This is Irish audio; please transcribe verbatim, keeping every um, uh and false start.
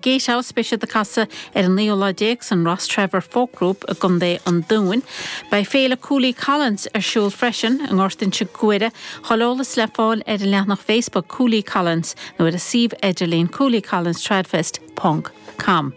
Gatehouse beidh siad ag casadh ar an naoú lá déag san Rostrevor Folk Group i gContae an Dúin. Beidh féile Cooley Collins ar siúl freisin i nGort Inse Guaire chuile eolas le fáil ar an leathanach Facebook Cooley Collins nó ar a suíomh idirlín cooleycollinstradfest.com.